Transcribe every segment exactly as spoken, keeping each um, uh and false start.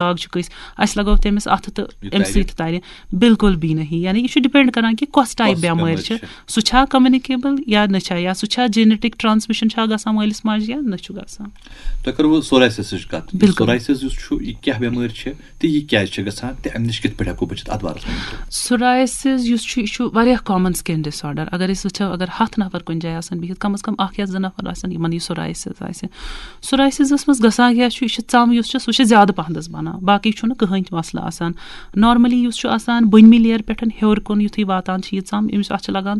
داغ چھُ کٲنٛسہِ، اَسہِ لگٲو تٔمِس اَتھٕ تہٕ أمۍ سۭتۍ تہِ تَرِ؟ بِلکُل بھی نہیں۔ یعنی یہِ چھُ ڈِپینڈ کران کہِ کۄس ٹایپ بیمٲرۍ چھِ۔ سُہ چھا کمیونِکیبل یا نہ چھا، یا سُہ چھا جینیٹک ٹرانسمیشن چھا گژھان مٲلِس ماجہِ یا نہ چھُ گژھان۔ تۄہہِ کٔروٕ سورایسِسٕچ کَتھ۔ بِلکُل۔ سورایسِس یُس چھُ، یہِ کیٛاہ بیمٲرۍ چھِ تہٕ یہِ کیٛازِ چھِ گژھان تہٕ اَمہِ نِش کِتھ پٲٹھۍ ہٮ۪کو بٔچِتھ، اَتھ بارَس منٛز؟ سورایسِس یُس چھُ، یہِ چھُ واریاہ کامن سکن ڈس آرڈر۔ اگر أسۍ وٕچھو، اگر ہَتھ نفر کُنہِ جایہِ آسن بِہِتھ، کم از کم اکھ یا زٕ نفر آسن یِمن یہِ سورایسِس آسہِ۔ سورایسِسس منٛز گژھان کیٛاہ چھُ، یہِ چھِ ژم یُس چھِ، سُہ چھِ زیادٕ پہنس بنان، باقٕے چھُنہٕ کٕہٕنۍ تہِ مسلہٕ آسان۔ نارملی یُس چھُ آسان بٔنمہِ لیر پٮ۪ٹھ ہیوٚر کُن یُتھُے واتان چھِ یہِ ژم، أمِس، اَتھ چھِ لگان،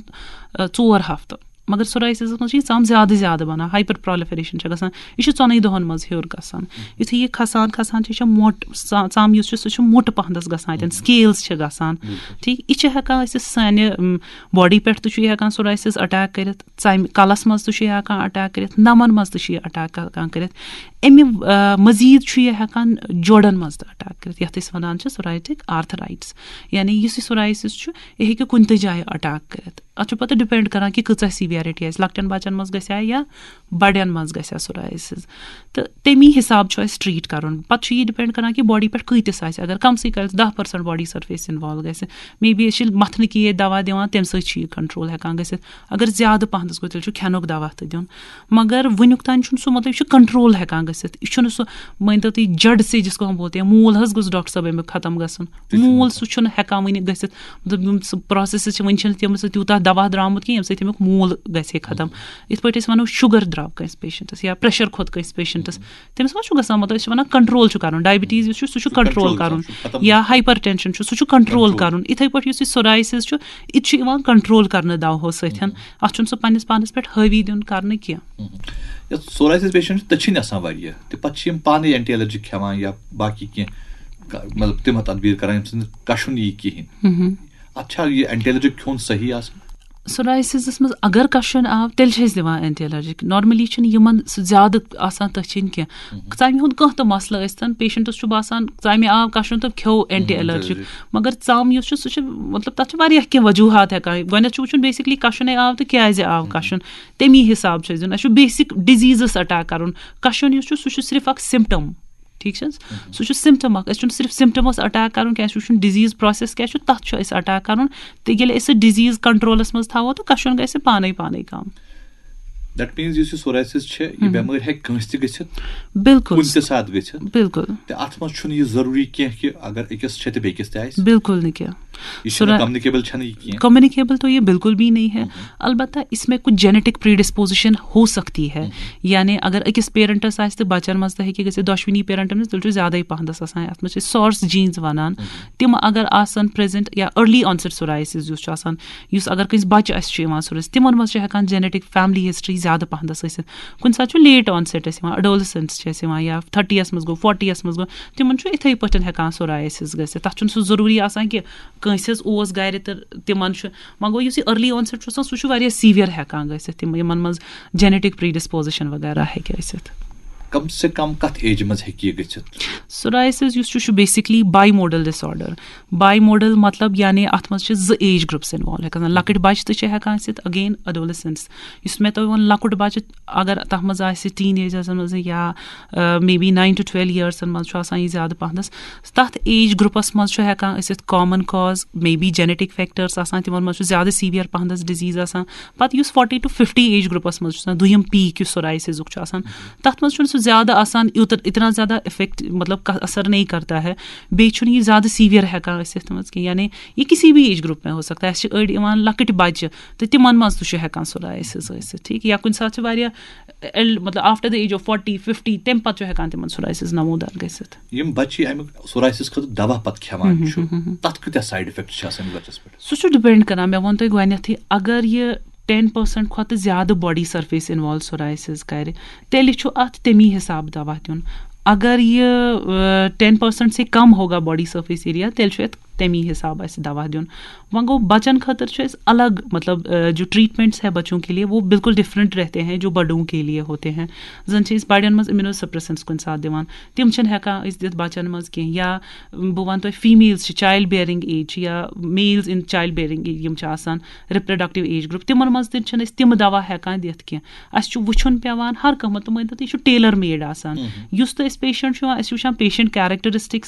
آ، ژور ہفتہٕ۔ مگر سورایسِسس منٛز چھِ یہِ ژم زیادٕ زیادٕ بنان، ہایپر پرالیفریشن چھِ گژھان، یہِ چھِ ژۄنٕے دۄہن منٛز ہیوٚر گژھان۔ یُتھُے یہِ کھسان کھسان چھِ، یہِ چھِ موٚٹ، ژ-، ژم یُس چھُ، سُہ چھُ موٚٹ پہنس گژھان، اتٮ۪ن سکیلز چھِ گژھان۔ ٹھیٖک، یہِ چھِ ہٮ۪کان أسۍ سانہِ، م، باڈی پٮ۪ٹھ تہِ چھُ یہِ ہٮ۪کان سورایسِس اٹیک کٔرِتھ، ژَمہِ کلَس منٛز تہِ چھُ یہِ ہٮ۪کان اٹیک کٔرِتھ، نَمَن منٛز تہِ چھُ یہِ اٹیک ہٮ۪کان کٔرِتھ۔ اَمہِ، آ، مٔزیٖد چھُ یہِ ہٮ۪کان جوڑَن منٛز تہِ اٹیک کٔرِتھ، یَتھ أسۍ وَنان چھِ سورایٹک آرتھرایٹس۔ یعنی یُس یہِ سورایسِس چھُ، یہِ ہیٚکہِ کُنہِ تہِ جایہِ اٹیک کٔرِتھ۔ اَتھ چھُ پَتہٕ ڈِپینڈ کران کہِ کۭژاہ سِویرٹی آسہِ، لۄکٹٮ۪ن بَچَن منٛز گژھِ ہا یا بَڑٮ۪ن منٛز گژھِ ہا سورایسِس۔ تہٕ تَمی حِساب چھُ اَسہِ ٹریٖٹ کَرُن۔ پَتہٕ چھُ یہِ ڈِپینڈ کران کہِ باڈی پٮ۪ٹھ کۭتِس آسہِ۔ اگر کَمسٕے کالَس دَہ پٔرسَنٹ باڈی سرفیس انوالو گژھِ، مے بی أسۍ چھِ مَتھنہٕ کی یٲتۍ دوا دِوان، تَمہِ سۭتۍ چھُ یہِ کنٹرول ہٮ۪کان گٔژھِتھ۔ اگر زیادٕ پَہنَس گوٚو، تیٚلہِ چھُ کھٮ۪نُک دوا تہِ دیُن۔ مگر وٕنیُک تام چھُنہٕ سُہ، مطلب، یہِ چھُ کنٹرول ہٮ۪کان گٔژھِتھ۔ یہِ چھُنہٕ سُہ، مٲنۍ تو تُہۍ، جڑ سے جس کو ہم بولتے ہیں، موٗل حظ گوٚژھ ڈاکٹر صٲب اَمیُک ختم گژھُن۔ موٗل سُہ چھُنہٕ ہٮ۪کان وٕنہِ گٔژھِتھ۔ مطلب، یِم سُہ پروسیسز چھِ، وٕنہِ چھِنہٕ تِم سۭتۍ تیوٗتاہ دوا درٛامُت کینٛہہ، ییٚمہِ سۭتۍ تَمیُک موٗل گژھِ ہے ختم۔ یِتھ پٲٹھۍ أسۍ وَنو، شُگر درٛاو کٲنٛسہِ پیشنٹس یا پریشر کھوٚت کٲنٛسہِ پیشنٹس، تٔمِس ما چھُ گژھان، مطلب، أسۍ چھِ وَنان کنٹرول چھُ کَرُن، ڈایبٹیٖز یُس چھُ، سُہ چھُ کنٹرول کَرُن، یا ہایپر ٹینشن چھُ، سُہ چھُ کنٹرول کَرُن۔ یِتھَے پٲٹھۍ یُس یہِ سورایسِس چھُ، یہِ تہِ چھُ یِوان کنٹرول کَرنہٕ دَوہو سۭتۍ۔ اَتھ چھُنہٕ سُہ پنٛنِس پانَس پٮ۪ٹھ حٲوی دیُن کَرنہٕ کینٛہہ۔ یَتھ سورایسِس پیشنٹ چھِ، تٔچھِنۍ آسان واریاہ، تہٕ پَتہٕ چھِ یِم پانَے اینٹی الرجک کھٮ۪وان یا باقٕے کینٛہہ، کا-، مطلب، تِم تدبیٖر کَران، ییٚمہِ سۭتۍ نہٕ کَشُن یی کِہیٖنۍ۔ اَتھ چھا یہِ اینٹی الرجک کھیوٚن صحیح آسان؟ سورایسِسس منٛز اگر کشُن آو، تیٚلہِ چھِ أسۍ دِوان اینٹی الرجک۔ نارملی چھُنہٕ یِمن سُہ زیادٕ آسان تٔچھِنۍ کینٛہہ۔ ژمہِ ہُنٛد کانٛہہ تہِ مسلہٕ ٲسۍتن، پیشنٹس چھُ باسان ژمہِ آو کشُن تہٕ کھیوٚو اینٹی الرجک۔ مگر ژم یُس چھُ، سُہ چھُ، مطلب، تتھ چھِ واریاہ کینٛہہ وجوہات ہٮ۪کان۔ گۄڈٕنٮ۪تھ چھُ وٕچھُن بیسکلی کشُنے آو تہٕ کیازِ آو کشُن، تمی حساب چھُ اَسہِ دیُن۔ اَسہِ چھُ بیسک ڈِزیٖزس اٹیک کرُن۔ کشُن یُس چھُ، سُہ چھُ صرف اکھ سمپٹم۔ ٹھیٖک چھِ حظ؟ سُہ چھُ سمپٹم اکھ۔ اَسہِ چھُنہٕ صرف سمپٹمس اٹیک کرُن کینٛہہ، اَسہِ چھُ وٕچھُن ڈِزیٖز پروسیس کیٛاہ چھُ، تَتھ چھُ اَسہِ اٹیک کرُن۔ تہٕ ییٚلہِ أسۍ سُہ ڈِزیٖز کنٹرولس منٛز تھاوو، تہٕ کشُن گژھِ پانے پانے کم۔ That means یُس یہِ سورایسِس چھِ، یہِ بیمٲرۍ ہٮ۪کہِ کٲنٛسہِ تہِ گٔژھِتھ، بِلکُل۔ کُنہِ تہِ ساتہٕ گٔژھِتھ۔ بِلکُل۔ تہٕ اَتھ منٛز چھُنہٕ یہِ ضروٗری کینٛہہ کہِ اگر أکِس چھِ تہٕ بیٚکِس تہِ آسہِ۔ بِلکُل نہٕ کینٛہہ۔ یہِ چھُنہٕ کمیونِکیبل چھَنہٕ یہِ کینٛہہ۔ کمیونیکیبل تو یہ بالکل بھی نہیں ہے۔ البتہ اس میں کچھ جینیٹک پریڈسپوزیشن ہو سکتی ہے۔ یعنی اگر أکِس پیرنٹس آسہِ تہٕ بچن منٛز تہِ ہیٚکہِ گٔژھِتھ، دۄشوٕنی پیرنٹن منٛز، تیٚلہِ چھُ زیادَے پہنتس آسان، یَتھ منٛز چھِ سارس جینز ونان۔ تِم اگر آسن پریزنٹ یا ارلی آنسیٹ سورایسز یُس چھُ آسان، یُس اگر کٲنٛسہِ بچہِ آسہِ چھُ یِوان سورس، تِمن منٛز چھِ ہٮ۪کان جینیٹک فیملی ہسٹری زیادٕ پہنتس ٲسِتھ۔ کُنہِ ساتہٕ چھُ لیٹ آنسیٹ اَسہِ یِوان، اڈولسنٹس چھِ اَسہِ یِوان یا تھرٹی یس منٛز گوٚو، فورٹی یس منٛز گوٚو، تِمن چھُ یِتھَے پٲٹھۍ ہٮ۪کان سورایسز گٔژھِتھ۔ تَتھ چھُنہٕ سُہ ضروٗری آسان کہِ کٲنٛسہِ حظ اوس گرِ تہٕ تِمن چھُ، وۄنۍ گوٚو یُس یہِ ارلی آنسیٹ چھُ آسان، سُہ چھُ واریاہ سیویئر ہٮ۪کان گٔژھِتھ، تِم، یِمن منٛز جینیٹک پریڈسپوزیشن وغیرہ ہیٚکہِ ٲسِتھ۔ کم سے کم کتھ ایجہِ منٛز ہیٚکہِ یہِ گٔژھِتھ؟ سورایسز یُس چھُ، چھُ basically bimodal disorder. Bimodal مطلب یعنی اتھ منٛز چھِ زٕ ایج گروپس انوالو ہٮ۪کان، لۄکٕٹۍ بچہِ تہِ چھِ ہٮ۪کان ٲسِتھ، اگین اڈولسنٹس۔ یُس مےٚ تۄہہِ ووٚن، لۄکُٹ بچہِ اگر تتھ منٛز آسہِ، ٹین ایجس منٛز یا maybe nine to twelve ایئرسن منٛز چھُ آسان یہِ زیادٕ پہنس، تَتھ ایج گروپس منٛز چھُ ہٮ۪کان ٲسِتھ common cause, may be genetic factors آسان، تِمن منٛز چھُ زیادٕ سیویئر پہنس ڈِزیٖز آسان۔ پتہٕ یُس forty to fifty age groups منٛز چھُ آسان، دوٚیِم پیٖک یُس سورایسِزُک چھُ آسان، تَتھ منٛز چھُنہٕ سُہ زیادٕ آسان، یوٗت-، اتنا زیادٕ افیکٹ، مطلب، کا-، اثر نہیں کرتا ہے۔ بیٚیہِ چھُنہٕ یہِ زیادٕ سیویئر ہٮ۪کان ٲسِتھ تِمن منٛز کینٛہہ، یعنی یہِ کسی بھی ایج گروپ میں ہو سکتا ہے۔ اَسہِ چھِ أڑۍ یِوان لۄکٕٹۍ بچہِ تہٕ تِمن منٛز تہِ چھُ ہٮ۪کان سورایسِز ٲسِتھ، ٹھیٖک۔ یا کُنہِ ساتہٕ چھِ واریاہ ایل-، مطلب، after the age of forty, fifty، تَمہِ پتہٕ چھُ ہٮ۪کان تِمن سورایسِز نمودار گٔژھِتھ۔ یِم بچہِ اَمیُک سورایسِس خٲطرٕ دوا پتہٕ کھٮ۪وان چھُ، تَتھ کۭتیٛاہ سایڈ افیکٹ چھِ آسان أمِس بچس پٮ۪ٹھ؟ سُہ چھُ ڈِپینڈ کران، مےٚ ووٚن تۄہہِ گۄڈٕنٮ۪تھٕے، اگر یہِ ٹین پٔرسنٹ کھۄتہٕ زیادٕ باڈی سرفیس انوالو سورایسِز کرِ، تیٚلہِ چھُ اتھ تَمی حساب دوا دیُن۔ اگر یہِ، آ، ٹین پٔرسنٹ سے کم ہوگا باڈی سرفیس ایریا، تیٚلہِ چھُ اتھ تمی حساب آسہِ دوا دیُن۔ وۄنۍ گوٚو بچن خٲطرٕ چھُ اَسہِ الگ، مطلب، جو ٹریٹمنٹس ہے بچوں کے لیے، وہ بالکل ڈفرنٹ رہتے ہیں جو بڑوں کے لیے ہوتے ہیں۔ زن چھِ أسۍ بڑٮ۪ن منٛز اِمیونو سپریسنٹس کُنہِ ساتہٕ دِوان، تِم چھِنہٕ ہٮ۪کان أسۍ دِتھ بچن منٛز کینٛہہ۔ یا بہٕ وَنہٕ تۄہہِ، فیمیلز چھِ، چایلڈ بیرنگ ایج چھِ، یا میلز ان چایلڈ بیرنگ یِم چھِ آسان، ریپروڈکٹیو ایج گروپ، تِمن منٛز تہِ چھِنہٕ أسۍ تِم دوا ہٮ۪کان دِتھ کینٛہہ۔ اَسہِ چھُ وٕچھُن پٮ۪وان ہر کانٛہہ، مطلب، مٲنۍ تو تُہۍ، یہِ چھُ ٹیلر میڈ آسان۔ یُس تہِ أسۍ پیشنٹ چھُ یِوان، أسۍ چھِ وٕچھان پیشنٹ کیریکٹرسٹکس